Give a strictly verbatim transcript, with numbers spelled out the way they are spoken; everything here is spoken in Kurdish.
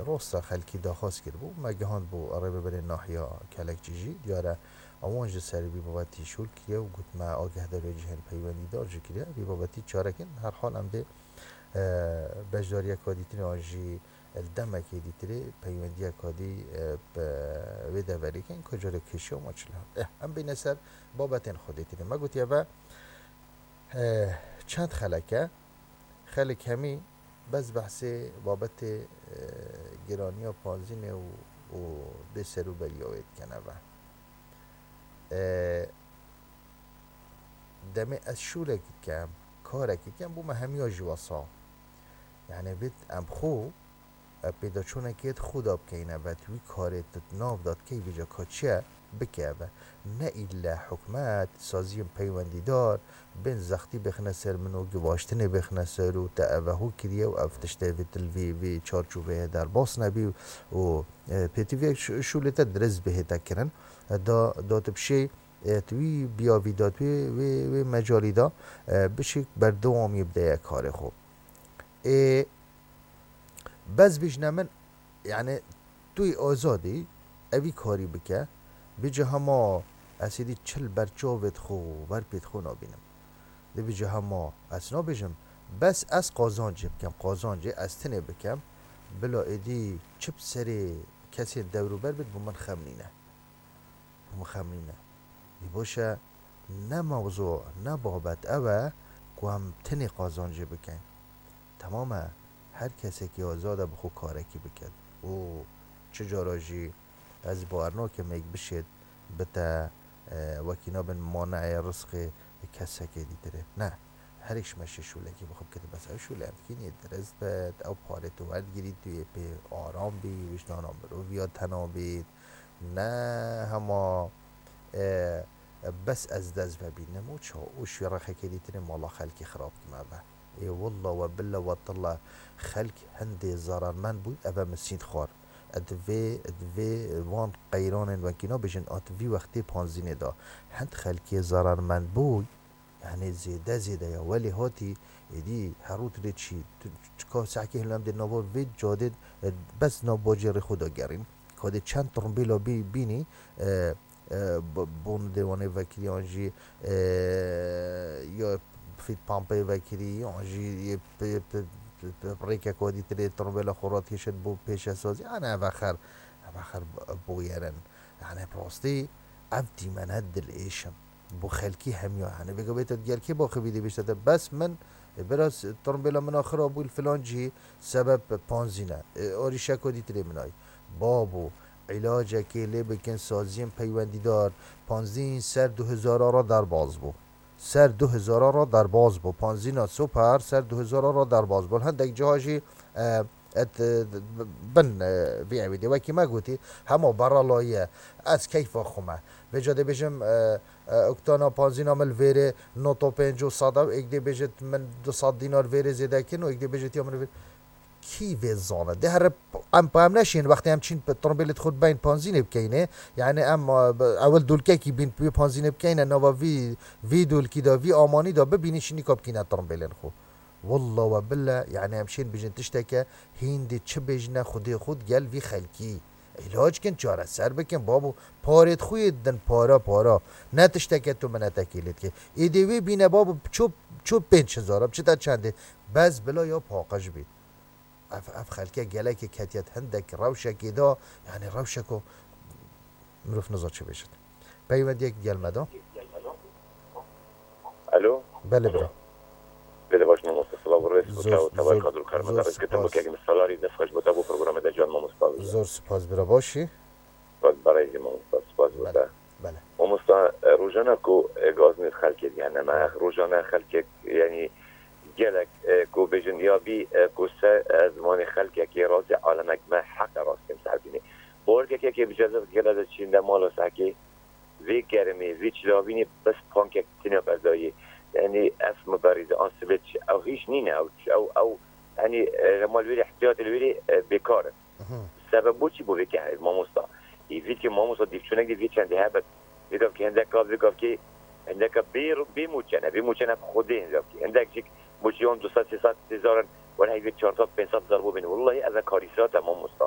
Rosta xelkî daxwaz kiribû, me gihand bo rêveberê nahiya Kelekçî jî. Diyar e, ewan ji ser vî babetî şûl kiriye û got me agahdariyê cihên peywendîdar jî kiriye. Vî babetî çarekin, her hal em dê, e, beşdariyeka dîtirê an jî li demekê dîtirê peywendiyeka dî, e, bi wê deverê kin ku carê kêşiya ma çi li hend. Eh, em bêne ser babetên xwe dîtirê. Me gotiye ve, e, çend xelek e, xelek hemî bes behsê babetê, e, giraniya panzînê û, û bê serûberiya wê dikene ve. E, demê ez şûlek dikem, karek dikem, bû me hemiya jî wesa. Yani vê em xwe, e, pêdaçûnekê di xwe de bikeyne ve, tu wî karê tu di nav de dikey vêca ka çi ye, bike ve. Ne îlle hikûmet, saziyên peywendîdar, bên zextî bêxine ser min û givaştinê bêxine ser û te eve hû kiriye û ev tiştê vê til vê, vê çarçoveyê derbas nebî û, e, pêtiviyek şû-, şûlê te dirist bihête kirin. E, da, da tu bişê, e, tu wî biyavî da tu wê, wê, wê mecalî da, e, bişî berdewamî bideye karê xwe. Ê, bes bêjne min, yani, tu yê azad î, evî karî bike, bêce hema ez êdî çi li ber çavê xwe, ber pêt xwe nabînim. Dê bêce hema ez nabêjim, bes ez qazancê bikem, qazancê ez tinê bikem, bila êdî çi bi serê kesên dewrûber bit, bo min xem nîne. Bo min xem nîne. Dî baş e, ne mewzu, ne babet ew e ku em tinê qazancê bikin. Temam e, her kesekî azad e bi xwe karekî bikin. Û çi cara jî ez bawer nakim êk bişêt bite, e, wekî nabin maneeyê rizqê kesekê dîtirê. Ne. Herêk ji me şê şûlekî bi xwe bikete, bes ew şûle em dikînê dirist bit, ew parê tu werdigirî, tu yê pê aram bî, wijdana miroviya tena bît. Ne hema, e, bes ez dest vebînim û ça û şû rexekê dîtirê mala xelkê xirab kime ve. Ê willa we billa we tilla xelk hindê zararmend bû, eve min sînd xwar. Di vê, di vê van qeyranên wekî nabêjin, a di vî wextê panzînê de hind xelkê zararmend bû, yani zêde zêde ya. Welê hatî, êdî her rû tu dê çî, tu çika sehkê hilem dê nava vê cadê, e, bes nav bacê rê xwe da gerîn. Ka dê çend trumbêla bî-, bînî, e, e, b-, bon dê wanê vekirî an jî, e, ya fît pampeyê vekirî, an jî yê p-, p-, p-, p-, rêkek wadî tirê trumbêla xwe radikêşit bo pêşesazî. Yani eve xer, eve xer b-, bûyerin. Yani bi rastî ev dîmene dilêş in. Bo xelkî hemiya. Yani vêga bê te gelkê baxivî dê bêjte te, bes min, e, biraz trumbêla min a xira bû li filan cihî sebeb panzîne. E, arîşeka dîtirê min ay. Babo, îlacekê lê bikin saziyên peywendîdar, panzîn ser du hezara re derbaz bû. Ser du hezara re derbaz bû. Panzîna super ser du hezara re derbaz bû. Hindek ciha jî, e, et, e, bin, e, vî ewî dê. Wekî me gotî, hema beralayî ye. Ez keyfa xwe me. Vêca dê bêjim, e, e, oktana panzîna min li vêrê noto pênc û sed ew, êk dê bêjit min du sed dînar vêrê zêde kin û êk dê bêjit ya min vê-, kî vê zane? Dê here p-, em pa em neşên wextê em çîn p-, trombêlê xwe beyn panzînê bikeyne. Yani em, e, b-, ewil dulkekî bîn pê panzînê bikeyne, nava vî, vî dulkî de, vî amanî de bibînî şînî ka bikîne trombêlên xwe. Walla we billa, yani em şên bijin tişteke hîn dê çi bêjine Xwedê xwe digel vî xelkî. Îlac kin, çareser bikin, babo, parêt xwe yê din para, para. Ne tişteke tu minetekê lê dikê. Êdê wê bîne, babo, ço, ço pênc hezar, çi te çendê? Bes bila ya paqij bît. Ev, ev xelke gelekê ketiye hindek rewşekê de, yani rewşeko mirov niza çi bêjit. Peywendiyek gel me da. Alo? Belê bira. Belê baş mamoste, silav û rêz. Zor, zor, zor spas. Salarî dest xweş bo te bo programê de can mamoste. Zor spas bira, başî? Bak, berêzî mamoste, spas bo te. Belê, belê. Mamoste, e, rojane ku, e, gazinê xelkê diyane me, rojane xelkek, yani, gelek, e, ku bêjin ya bî, e, ku ser, e, zimanê xelkekê razê alemek me heqe rastî em ser bînê. Borgekekê bi cezet gele de çîn de mala sekê, vê germê, vê çilavînê bes pankek tîne berdayê. Yani, ev mi berî de an sibê çi, ew hîç nîne, ew, ew, ew, yani, e, mal wêrê, ihtiyatê wêrê, e, bêkar in. Mhm. Sebeb bo çi bo vê ke mamosta? Ê vî ke mamosta dîvçûnek dî vê çendê hebet. Vê gavkê hindeka, vê gavkê hindeka bê, bê moçene, bê moçene bi Xwedê hindekê. Hindek jîk moçiyan du sed, sê sed hezar in, wele heyvê çar sed, pênc sed hezar bo bîne. Wellahî ev e karîsat e mamosta.